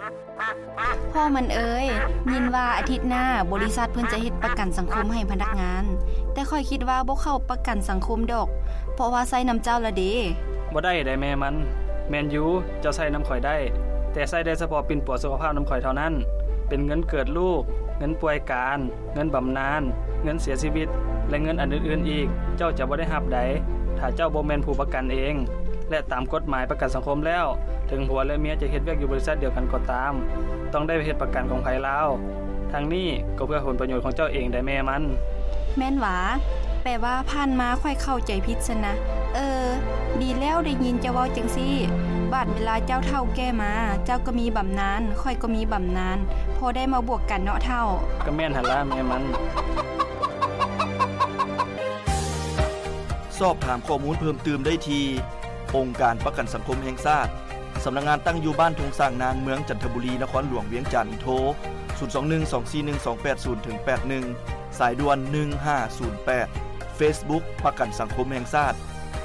ພໍ່ມັນເອີຍ, ຍິນວ່າອາທິດໜ້າບໍລິສັດເພິ່ນຈະເຮັດປະກັນສັງຄົມໃຫ້ພະນັກງານ, ແຕ່ຂ້ອຍຄິດວ່າບໍ່ເຂົ້າປະກັນສັງຄົມດອກ, ເພາະວ່າໃຊ້ນຳເຈົ້າລະເດ. ບໍ່ໄດ້ໃດແມ່ມັນ. ແມ່ນຢູ່, ເຈົ້າໃຊ້ນຳຂ້ອຍໄດ້, ແຕ່ໃຊ້ໄດ້ສະເພາະປິ່ນປົວສຸຂະພາບນຳຂ້ອຍເທົ່ານັ້ນ, ເປັນເງິນເກີດລູກ, ເງິນປ່ວຍການ, ເງິນບຳນານ, ເງິນເສຍຊີວິດ ແລະ ເງິນອັນອື່ນໆອີກ, ເຈົ້າຈະບໍ່ໄດ້ຮັບໃດ ຖ້າເຈົ້າບໍ່ແມ່ນຜູ້ປະກັນເອງ. ແລະ ຕາມກົດໝາຍປະກັນສັງຄົມແລ້ວ, ເຖິງຜົວ ແລະ ເມຍຈະເຮັດວຽກຢູ່ບໍລິສັດດຽວກັນກໍຕາມ, ຕ້ອງໄດ້ເຮັດປະກັນຂອງໃຜລາວ. ທັງນີ້ກໍເພື່ອຜົນປະໂຫຍດຂອງເຈົ້າເອງໄດ໋ແມ່ມັນ. ແມ່ນຫວາ? ແປວ່າຜ່ານມາຂ້ອຍເຂົ້າໃຈຜິດຊັ້ນນະ. ເອີ, ດີແລ້ວໄດ້ຍິນເຈົ້າເວົ້າຈັ່ງຊີ້. ບາດເວລາເຈົ້າເຖົ້າແກ່ມາ, ເຈົ້າກໍມີບຳນານ, ຂ້ອຍກໍມີບຳນານ, ພໍໄດ້ມາບວກກັນເນາະເຖົ້າ. ກໍແມ່ນຫັ້ນລະແມ່ມັນ. ສອບຖາມຂໍ້ມູນເພີ່ມຕື່ມໄດ້ທີ່ ອົງການປະກັນສັງຄົມແຫ່ງຊາດ, ສຳນັກງານຕັ້ງຢູ່ບ້ານທົ່ງຊ້າງນາງ, ເມືອງຈັນທະບູລີ, ນະຄອນຫຼວງວຽງຈັນ. ໂທ ສູນສອງໜຶ່ງ ສອງສີ່ໜຶ່ງ ສອງແປດສູນ ເຖິງ ແປດໜຶ່ງ, ສາຍດ່ວນ ໜຶ່ງຫ້າສູນແປດ. ເຟສບຸກ ປະກັນສັງຄົມແຫ່ງຊາດ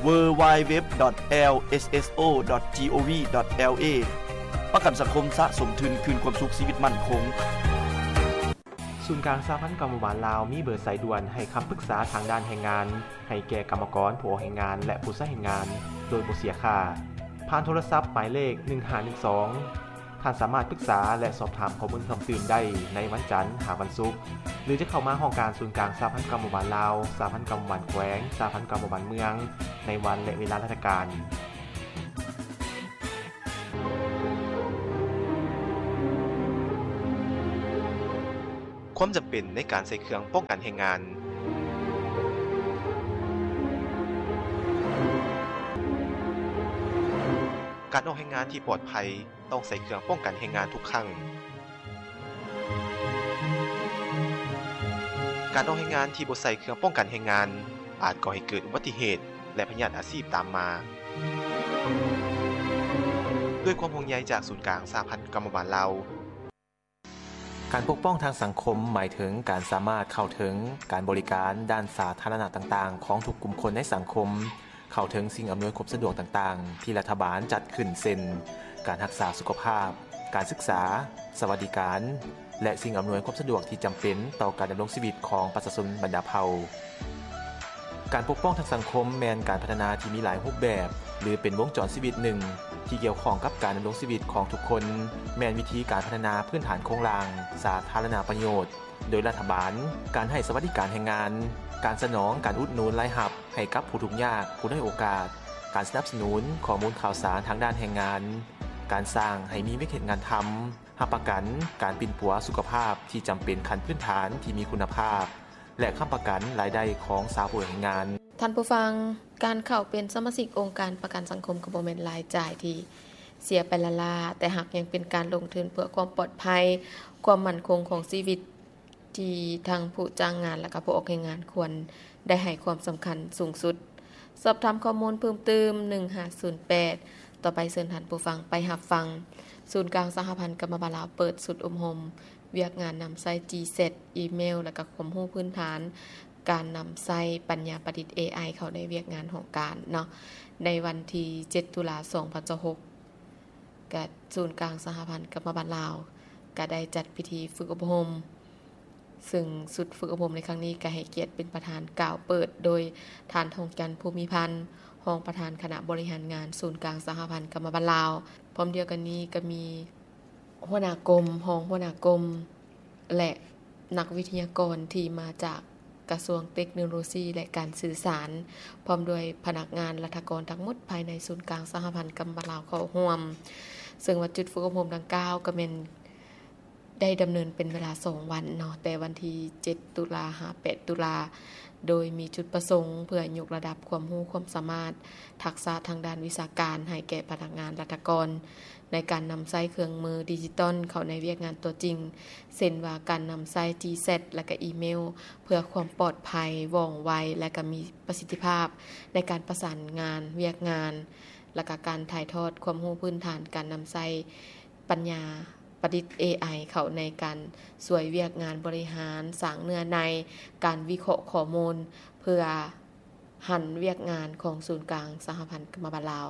www.lsso.gov.la. ປະກັນສັງຄົມສະສົມທຶນຄືນຄວາມສຸກຊີວິດໝັ້ນຄົງ. ສູນກາງສະຫະພັນກຳມະບານລາວມີເບີສາຍດ່ວນໃຫ້ຄຳປຶກສາທາງດ້ານແຮງງານ ໃຫ້ແກ່ກຳມະກອນ, ຜູ້ອອກແຮງງານ ແລະ ຜູ້ໃຊ້ແຮງງານ ໂດຍບໍ່ເສຍຄ່າ ຜ່ານໂທລະສັບໝາຍເລກ ໜຶ່ງຫ້າໜຶ່ງສອງ. ທ່ານສາມາດປຶກສາ ແລະ ສອບຖາມຂໍ້ມູນເພີ່ມຕື່ມໄດ້ໃນວັນຈັນ ຫາ ວັນສຸກ ຫຼື ຈະເຂົ້າມາຫ້ອງການສູນກາງສະຫະພັນກຳມະບານລາວ, ສະຫະພັນກຳມະບານແຂວງ, ສະຫະພັນກຳມະບານເມືອງ ໃນວັນ ແລະ ເວລາລາຊະການ. ຄວາມຈຳເປັນໃນການໃສ່ເຄື່ອງປ້ອງກັນແຮງງານ. ການອອກແຮງງານທີ່ປອດໄພ ຕ້ອງໃສ່ເຄື່ອງປ້ອງກັນແຮງງານທຸກຄັ້ງ. ການອອກແຮງງານທີ່ບໍ່ໃສ່ເຄື່ອງປ້ອງກັນແຮງງານ ອາດກໍ່ໃຫ້ເກີດອຸບັດຕິເຫດ ແລະ ພະຍາດອາຊີບຕາມມາ. ດ້ວຍຄວາມຫ່ວງໃຍຈາກສູນກາງສະຫະພັນກຳມະບານລາວ. ການປົກປ້ອງທາງສັງຄົມ ໝາຍເຖິງການສາມາດເຂົ້າເຖິງການບໍລິການດ້ານສາທາລະນະຕ່າງໆຂອງທຸກກຸ່ມຄົນໃນສັງຄົມ, ເຂົ້າເຖິງສິ່ງອຳນວຍຄວາມສະດວກຕ່າງໆທີ່ລັດຖະບານຈັດຂຶ້ນ ເຊັ່ນ ການຮັກສາສຸຂະພາບ, ການສຶກສາ, ສະຫວັດດີການ ແລະ ສິ່ງອຳນວຍຄວາມສະດວກທີ່ຈຳເປັນຕໍ່ການດຳລົງຊີວິດຂອງປະຊາຊົນບັນດາເຜົ່າ. ການປົກປ້ອງທາງສັງຄົມແມ່ນການພັດທະນາທີ່ມີຫຼາຍຮູບແບບ ຫຼື ເປັນວົງຈອນຊີວິດໜຶ່ງທີ່ກ່ຽວຂ້ອງກັບການດຳລົງຊີວິດຂອງທຸກຄົນ, ແມ່ນວິທີການພັດທະນາພື້ນຖານໂຄງລ່າງສາທາລະນະປະໂຫຍດໂດຍລັດຖະບານ, ການໃຫ້ສະຫວັດດີການແຮງງານ, ການສະໜອງການອຸດໜູນລາຍຮັບໃຫ້ກັບຜູ້ທຸກຍາກ, ຜູ້ດ້ອຍໂອກາດ, ການສະໜັບສະໜູນຂໍ້ມູນຂ່າວສານທາງດ້ານແຮງງານ, ການສ້າງໃຫ້ມີວຽກເຮັດງານທຳ, ຮັບປະກັນການປິ່ນປົວສຸຂະພາບທີ່ຈຳເປັນຂັ້ນພື້ນຖານທີ່ມີຄຸນນະພາບ ແລະ ຄ້ຳປະກັນລາຍໄດ້ຂອງຊາວຜູ້ແຮງງານ. ທ່ານຜູ້ຟັງ, ການເຂົ້າເປັນສະມາຊິກອົງການປະກັນສັງຄົມກໍບໍ່ແມ່ນລາຍຈ່າຍທີ່ເສຍໄປລ້າໆ, ແຕ່ຫາກຍັງເປັນການລົງທຶນເພື່ອຄວາມປອດໄພ, ຄວາມໝັ້ນຄົງຂອງຊີວິດ ທີ່ທັງຜູ້ຈ້າງງານ ແລະ ກະຜູ້ອອກແຮງງານຄວນໄດ້ໃຫ້ຄວາມສຳຄັນສູງສຸດ. ສອບຖາມຂໍ້ມູນເພີ່ມຕື່ມ ໜຶ່ງຫ້າສູນແປດ. ຕໍ່ໄປເຊີນທ່ານຜູ້ຟັງໄປຮັບຟັງ ສູນກາງສະຫະພັນກຳມະບານລາວເປີດຊຸດອົບຮົມວຽກງານນຳໃຊ້ GSAT ອີເມວ ແລະ ກະຄວາມຮູ້ພື້ນຖານການນຳໃຊ້ປັນຍາປະດິດ ເອໄອ ເຂົ້າໃນວຽກງານຫ້ອງການເນາະ ໃນວັນທີເຈັດ ຕຸລາ ສອງພັນຊາວຫົກ. ກະສູນກາງສະຫະພັນກຳມະບານລາວ ກະໄດ້ຈັດພິທີຝຶກອົບຮົມ, ຊຶ່ງຊຸດຝຶກອົບຮົມໃນຄັ້ງນີ້ ກະໃຫ້ກຽດເປັນປະທານກ່າວເປີດໂດຍທ່ານ ທອງຈັນ ພູມີພັນ ຮອງປະທານຄະນະບໍລິຫານງານສູນກາງສະຫະພັນກຳມະບານລາວ. ພ້ອມດຽວກັນນີ້ກະມີຫົວໜ້າກົມ, ຮອງຫົວໜ້າກົມ ແລະ ນັກວິທະຍາກອນທີ່ມາຈາກກະຊວງເຕັກໂນໂລຊີ ແລະ ການສື່ສານ, ພ້ອມດ້ວຍພະນັກງານລັດຖະກອນທັງໝົດພາຍໃນສູນກາງສະຫະພັນກຳມະບານລາວເຂົ້າຮ່ວມ. ເຊິ່ງວ່າຈຸດຝຶກອົບຮົມດັ່ງກ່າວກໍແມ່ນໄດ້ດຳເນີນເປັນເວລາສອງວັນເນາະ, ແຕ່ວັນທີເຈັດ ຕຸລາ ຫາ ແປດ ຕຸລາ, ໂດຍມີຈຸດປະສົງເພື່ອຍົກລະດັບຄວາມຮູ້ຄວາມສາມາດ ທັກສະທາງດ້ານວິຊາການໃຫ້ແກ່ພະນັກງານລັດຖະກອນ ໃນການນຳໃຊ້ເຄື່ອງມືດິຈິຕອນເຂົ້າໃນວຽກງານຕົວຈິງ, ເຊັ່ນວ່າການນຳໃຊ້ GSAT ແລະ ກະອີເມວ ເພື່ອຄວາມປອດໄພ, ວ່ອງໄວ ແລະ ກະມີປະສິດທິພາບໃນການປະສານງານວຽກງານ, ແລະ ກະການຖ່າຍທອດຄວາມຮູ້ພື້ນຖານການນຳໃຊ້ປັນຍາປະດິດ ເອໄອ ເຂົ້າໃນການຊ່ວຍວຽກງານບໍລິຫານ, ສ້າງເນື້ອໃນ, ການວິເຄາະຂໍ້ມູນ ເພື່ອ ຫັນວຽກງານຂອງສູນກາງສະຫະພັນກຳມະບານລາວ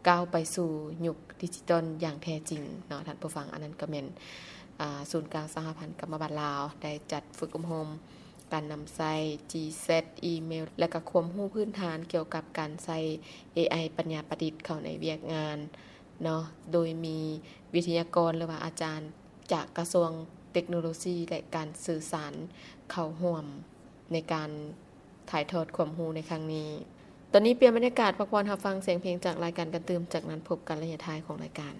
ກ້າວໄປສູ່ຍຸກດິຈິຕອນຢ່າງແທ້ຈິງເນາະທ່ານຜູ້ຟັງ. ອັນນັ້ນກໍແມ່ນ ອາ ສູນກາງສະຫະພັນກຳມະບານລາວ ໄດ້ຈັດຝຶກອົບຮົມການນຳໃຊ້ GSAT ອີເມວ ແລະ ກໍຄວາມຮູ້ພື້ນຖານກ່ຽວກັບການໃຊ້ ເອໄອ ປັນຍາປະດິດເຂົ້າໃນວຽກງານເນາະ, ໂດຍມີວິທະຍາກອນ ຫຼືວ່າອາຈານຈາກກະຊວງເຕັກໂນໂລຊີ ແລະ ການສື່ສານເຂົ້າຮ່ວມໃນການຖ່າຍທອດຄວາມຮູ້ໃນຄັ້ງນີ້. ຕອນນີ້ປ່ຽນບັນຍາກາດ ພັກຜ່ອນຮັບຟັງສຽງເພງຈາກລາຍການກັນຕື່ມ, ຈາກນັ້ນພົບກັນໄລຍະທ້າຍຂອງລາຍການ.